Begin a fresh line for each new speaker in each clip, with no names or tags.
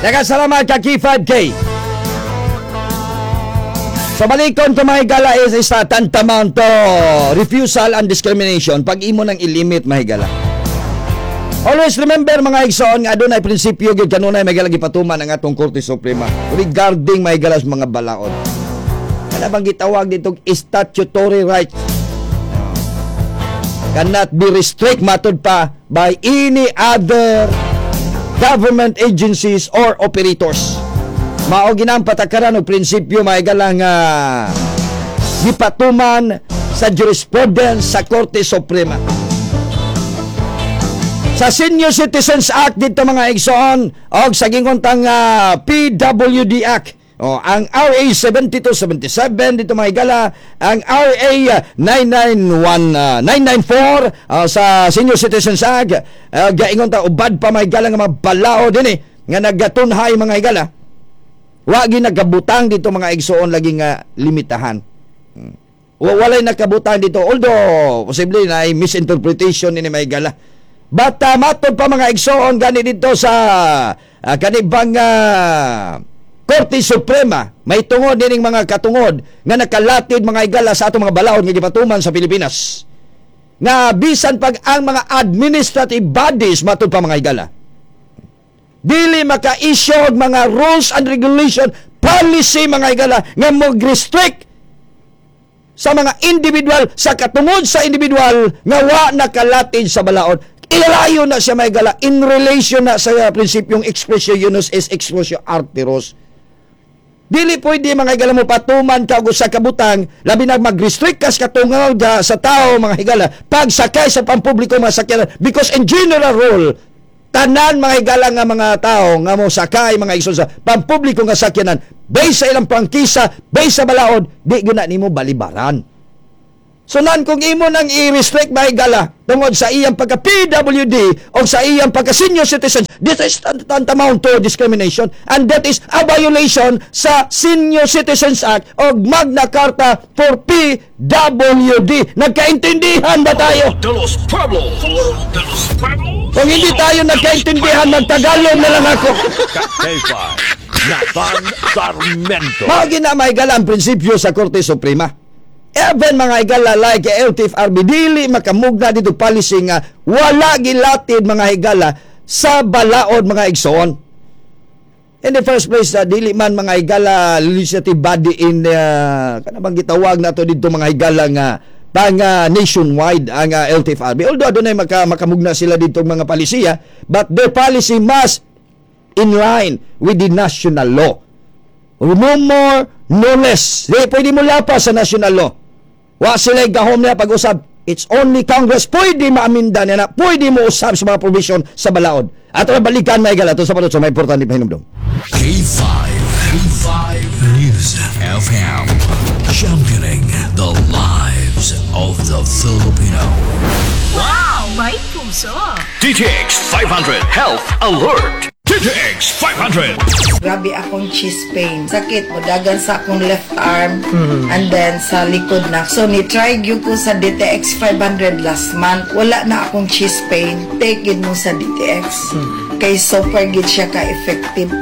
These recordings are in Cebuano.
Daghang salamat ka K5K. Sa balikon to, mga higala, is tantamount to refusal and discrimination pag imo nang ilimit, mga higala. Always remember, mga igsoon, nga adunay prinsipyo gyud kanunay, mga higala, gipatuman ang atong Korte Suprema regarding, mga higala, sa mga balaod. Kana bang gitawag dito statutory rights cannot be restrict, matod pa, by any other government agencies or operators. Mao ginang patakaran og prinsipyo, mga higala, nga gipatuman sa jurisprudence sa Korte Suprema. Sa Senior Citizens Act dito, mga igsoon, og sa gingontang PWD Act. O, ang RA 7277 dito, mga higala, ang RA 991 994 sa Senior Citizens Act, gaingon ta ubad pa, mga higala, nga mga balaod din eh nga nagatunhay, mga higala. Wa gi nagabutang dito, mga igsoon, lagi nga limitahan. Walay nakabutang dito, although posible na ay misinterpretation ni mga higala. But matod pa, mga igsoon, gani dito sa kanibang Korte Suprema, may tungod dining mga katungod nga nakalatid, mga higala, sa atong mga balaod nga gipatuman sa Pilipinas. Nga bisan pag ang mga administrative bodies, matod pa, mga higala, dili maka-issue og mga rules and regulation, policy, mga higala, nga mag-restrict sa mga individual, sa katungod sa individual nga wa nakalatid sa balaod. Ilalayo na siya, mga higala, in relation na sa prinsipyong expressio unius est exclusio alterus. Dili pwede, mga higala, mo patuman ka og usa ka butang, labi na mag-restrict ka sa katungod sa tao, mga higala, pagsakay sa pampubliko mga sakyanan, because in general rule, tanan, mga higala, nga mga tao nga mo sakay, mga igsoon, sa pampubliko nga sakyanan, based sa ilang prangkisa, based sa balaod, di gyud na nimo balibaran. So nan kung imo nang i-restrict, mga higala, tungod sa iyang pagka PWD o sa iyang pagka senior citizen, this is tantamount to discrimination and that is a violation sa Senior Citizens Act o Magna Carta for PWD. Nagkaintindihan ba tayo?
De los Pueblos. De los Pueblos.
Kung hindi tayo nagkaintindihan, magtagalog na lang ako.
K5. Nathan Sarmiento.
Mao gina, mga higala, ang prinsipyo sa Korte Suprema. Even, mga higala, like LTFRB, dili makamugna dito policy nga wala gilatid, mga higala, sa balaod, mga igsoon. In the first place, dili man, mga higala, legislative body in kana bang gitawag nato dito, mga higala, nga pang nationwide ang LTFRB. Although adunay makamugna sila dito mga palisiya, but their policy must in line with the national law. No more, no less. Di pwede mo lapas sa national law. Wa sila gahom niya pag-usab. It's only Congress pwede maaminda niya na pwede mo usab sa mga provision sa balaod. Ato na balikan, mga higala, ito sa palot sa may importante pahinumdum.
K5. K5 News FM. Championing the lives of the Filipino.
Wow! May puso!
DTX 500 Health Alert. DTX 500.
Grabe akong chest pain. Sakit mo dagan sa akong left arm and then sa likod na. So ni try gyud ko sa DTX 500 last month. Wala na akong chest pain. Take gyud mo sa DTX. Kay super gyud siya ka effective.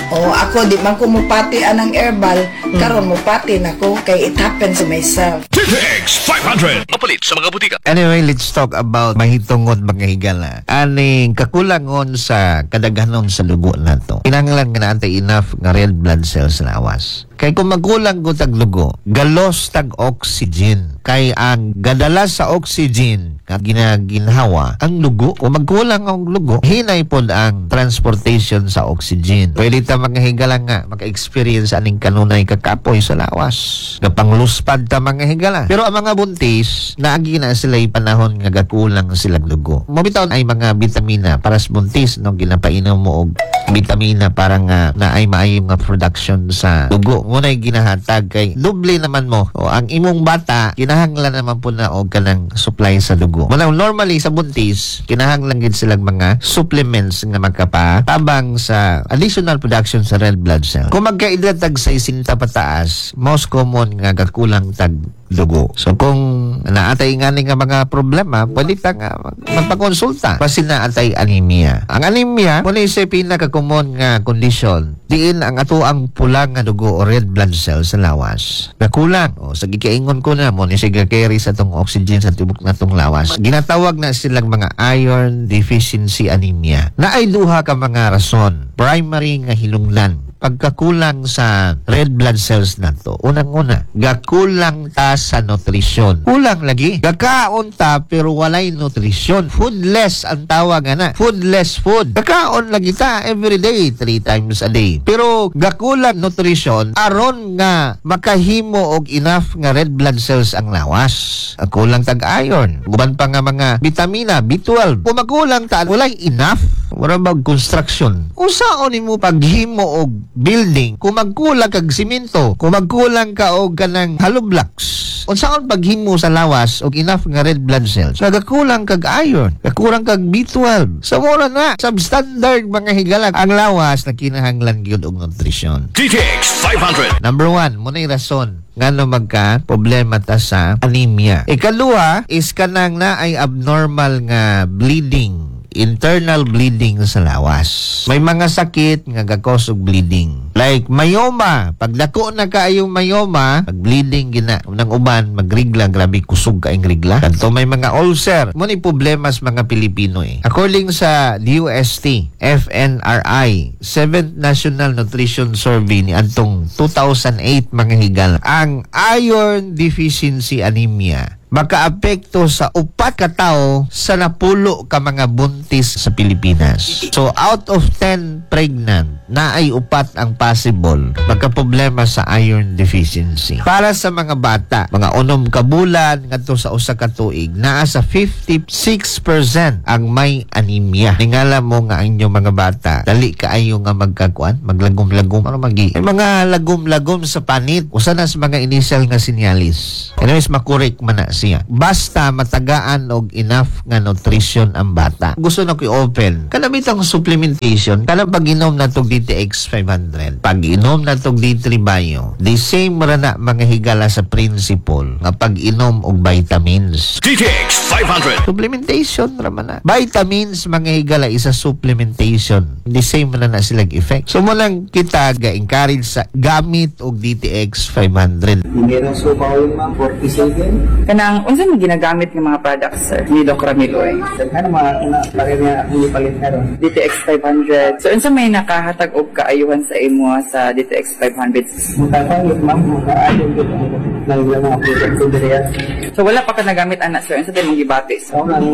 Oh, ako di man ko mupati anang herbal, karon mupati na ko kay it happens to myself.
DTX 500. Mapalit sa mga butika.
Anyway, let's talk about mahitungod, mga higala. Aning kakulangon sa kadaghanon sa dugo nato. Kinahanglan nga naa tay enough nga red blood cells na awas. Kay kung magkulang ko tag dugo, galos tag oxygen. Kay ang gadala sa oxygen nga ginaginhawa ang dugo. Kung magkulang ang dugo, hinay pod ang transportation sa oxygen. Pwede ta, mga higala, nga maka-experience aning kanunay kakapoy sa lawas. Gapangluspad ta, mga higala. Pero ang mga buntis, naagi na sila panahon nga gakulang silang dugo. Mabitaw ay mga bitamina para sa buntis, no, ginapainom mo og bitamina para nga na ay maayo nga production sa dugo. Ngunay ginahatag kay doble naman mo. O, ang imong bata kinahanglan naman po na og kanang supply sa dugo. Muna normally sa buntis kinahanglan gid silang mga supplements nga makapa tabang sa additional production sa red blood cell. Kung magkaedad tag 60 pataas, most common nga gakulang tag dugo. So kung naatay ngani nga mga problema, pwede ta nga magpakonsulta. Basin naatay anemia. Ang anemia, muna sa pinaka-common nga kondisyon, diin ang ato ang pula nga dugo o red blood cells sa lawas. Nakulang. O, sa gikaingon ko na, mo ni siya carry sa tong oxygen sa tibok na tong lawas. Ginatawag na silang mga iron deficiency anemia. Naay duha ka mga rason. Primary nga hinungdan, pagkakulang sa red blood cells nato. Unang-una, gakulang ta sa nutrisyon. Kulang lagi. Gakaon ta pero walay nutrisyon. Foodless ang tawag ana. Foodless food. Gakaon lagi ta every day, 3 times a day. Pero gakulang nutrisyon aron nga makahimo og enough nga red blood cells ang lawas. Ang kulang tag iron. Uban pa nga mga bitamina B12. Kung makulang ta, walay enough. Wala mag construction. Usaon nimo paghimo og building kung magkulang kag simento, kung magkulang ka og kanang hollow blocks? Unsaon paghimo sa lawas og enough nga red blood cells? Nagakulang kag iron, kakulang kag B12. So mura na substandard, mga higala, ang lawas na kinahanglan gyud og nutrisyon.
DTX 500.
Number one, muna rason ngano magka problema ta sa anemia. Ikaluha is kanang na ay abnormal nga bleeding, internal bleeding sa lawas. May mga sakit nga gakos og bleeding. Like myoma, pag dako na kaayong myoma, pag bleeding gina nang uban magrigla, grabe kusog kaayong rigla. Kadto may mga ulcer. Mo ni problema sa mga Pilipino eh. According sa DOST, FNRI, 7th National Nutrition Survey ni adtong 2008, mga higala, ang iron deficiency anemia makaapekto sa 4 ka tawo sa 10 ka mga buntis sa Pilipinas. So out of 10 pregnant, naay 4 ang possible magka-problema sa iron deficiency. Para sa mga bata, mga 6 ka bulan ngadto sa 1 ka tuig, naa sa 56% ang may anemia. Ningala mo nga ang inyong mga bata, dali kaayo nga magkakuan, maglagom-lagom, ano magi? May mga lagom-lagom sa panit, usa na sa mga initial nga sinyalis. Anyways, makurek man na siya. Basta matagaan og enough nga nutrition ang bata. Gusto na ko i-open. Kalamitang supplementation, kanang pag-inom na tog DTX 500, pag-inom na tog D3 Bio, the same ra na, mga higala, sa principle nga pag-inom og vitamins.
DTX 500.
Supplementation ra man na. Vitamins, mga higala, isa supplementation. The same na na silang effect. So mo lang kita ga-encourage sa gamit og DTX 500.
Meron so bawon, ma'am, 47.
Kanang unsa man ginagamit ng mga products, sir, ni Doc Ramilo eh?
Daghan mga na pare niya akong ipalit karon.
DTX 500. So unsa may nakahatag og kaayuhan sa imo sa DTX 500?
Mutabang yun, ma'am, makaayon gud ang nang mga product ko diri.
So wala pa ka nagamit ana, sir. Unsa din mong gibati?
Ako nang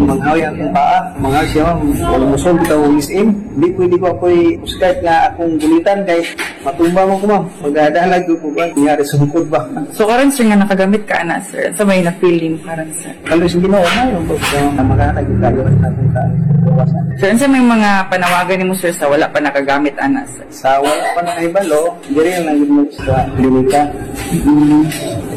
manghawi ang akong paa, manghawi siya, ma'am, wala musol bitaw ang SM. Di pwede ko ako'y skirt nga akong gulitan kay matumba mo ko, ma'am. Magadalag ko ko ba, kunyari sungkod ba.
So karon, sir, nga nakagamit ka ana, sir, unsa may na feeling karon, sir?
Kalos Ginoo na yung pagka makahatag yung kayo at akong kawasan.
Sir, unsa may mga panawagan nimo, sir, sa wala pa nakagamit ana, sir?
Sa wala pa nakahibalo, diri lang mo sa klinika.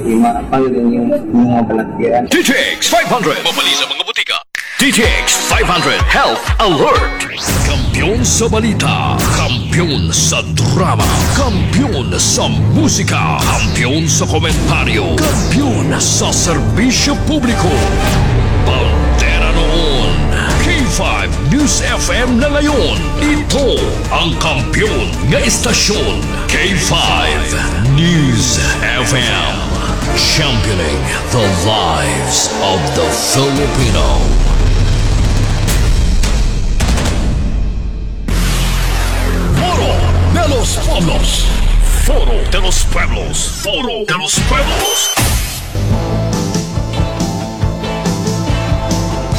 Ima pang din yung mga balatian.
DTX 500. Mabali sa mga butika. DTX 500 Health Alert. Kampiyon sa balita. Kampiyon sa drama. Kampiyon sa musika. Kampiyon sa komentaryo. Kampiyon sa serbisyo publiko. Bandera noon. K5 News FM na ngayon. Ito ang kampiyon nga istasyon. K5 News FM. Championing the lives of the Filipino. Foro de los Pueblos. Foro de los Pueblos. Foro de los Pueblos.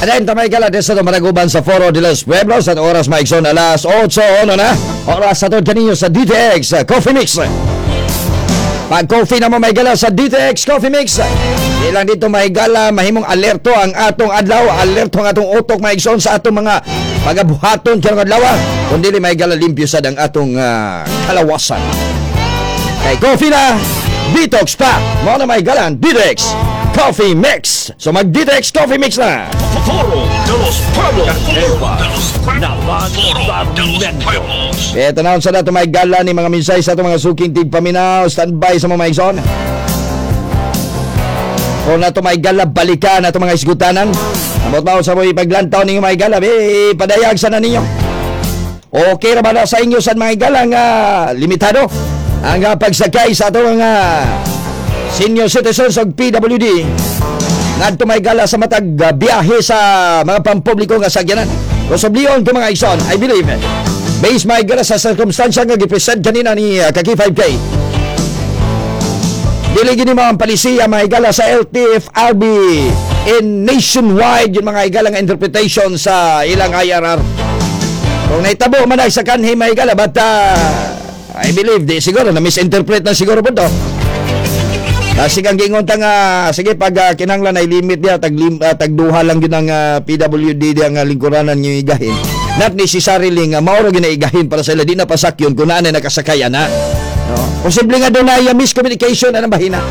Adan tamay kala sa maraguban sa Foro de los Pueblos at oras maigsoon alas 8 na. Oras sa tod kaninyo sa DTX Coffee Mix. Pag coffee na mo may gala sa DTX Coffee Mix. Di lang dito may gala mahimong alerto ang atong adlaw, alerto ang atong utok maigsoon sa atong mga pagabuhaton karong adlaw. Kundi may gala limpyo sad ang atong kalawasan. Kay coffee na, detox pa. Mao na may gala ang DTX Coffee Mix. So mag DTX Coffee Mix na.
Foro de los Pueblos. Foro de los Pueblos. Foro de los Pueblos.
Ito na sa dato may gala ni mga minsay sa atong mga suking tigpaminaw. Standby sa mga maigsoon. O na to, mga higala, balikan na to mga isgutanan. Amot mao sa mo ipaglantaw ninyo, mga higala, eh, padayag sana ninyo. Okay ra ba na sa inyo sa mga higala nga limitado ang pagsakay sa atong mga senior citizens og PWD ngadto, mga higala, sa matag biyahe sa mga pampubliko nga sakyanan? Kung ko, mga igsoon, I believe, based, mga higala, sa circumstansya nga gipresent kanina ni Kaki 5K, dili gini mga palisiya, mga higala, sa LTFRB in nationwide yung mga higala nga interpretation sa ilang IRR. Kung naitabo man ay sa kanhi, mga higala, but I believe di siguro na misinterpret na siguro po to. Kasi kang gingon ta nga sige, pag kinahanglan ay limit diya tagduha lang yun ang PWD diya nga lingkuranan nyo igahin. Not necessarily nga mao ra ginaigahin para sa ila, di na pasakyon kung naa na nakasakay ana. No? Posible nga doon na miscommunication anang bahina.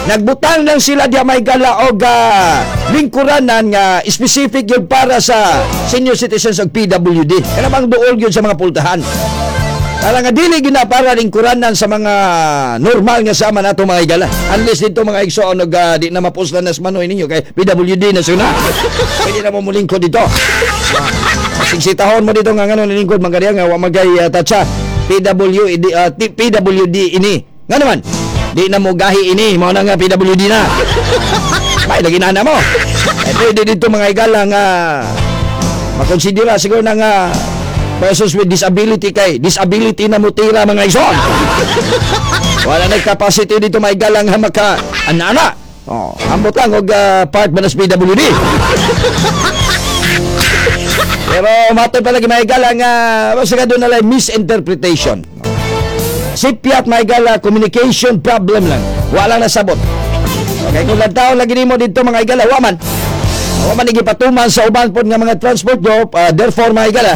Nagbutang lang sila diya, may gala, og lingkuranan nga specific yun para sa senior citizens og PWD. Kana bang duol yun sa mga pultahan. Para nga dili gina para lingkuranan sa mga normal nga sama nato, mga higala. Unless dito, mga igsoon, og di na mapuslan na sa manoy ninyo kay PWD na suna. Pwede na mo mulingkod dito. Sigsitahon mo dito nga ngano nilingkod man kaniya nga wa magay tatsa PWD, PWD ini. Nga naman di na mo gahi ini mao na nga PWD na. May lagi na mo. Eh, pwede dito, mga higala, nga makonsidera siguro na nga persons with disability kay disability na mo tira, mga igsoon. Wala na capacity dito, mga higala, nga maka ana-ana. Oh, ambot lang og part ba na sa PWD. Pero matod pa lagi, mga higala, nga basta ka doon na lang misinterpretation. Sipyat, mga higala, communication problem lang. Wala na sabot. Okay, kung lantaw lagi nimo dito, mga higala, wa man. Wa man gipatuman sa uban pod nga mga transport group, therefore, mga higala,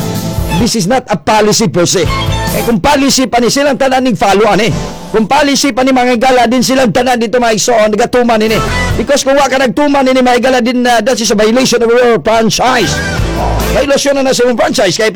this is not a policy per se. Eh kung policy pa ni silang tanan ning follow ani. Kung policy pa ni, mga higala, din silang tanan dito, mga igsoon, nagatuman ini. Because kung wa ka nagtuman ini, mga higala, din that is a violation of your franchise. Oh, violation na na sa imong franchise kay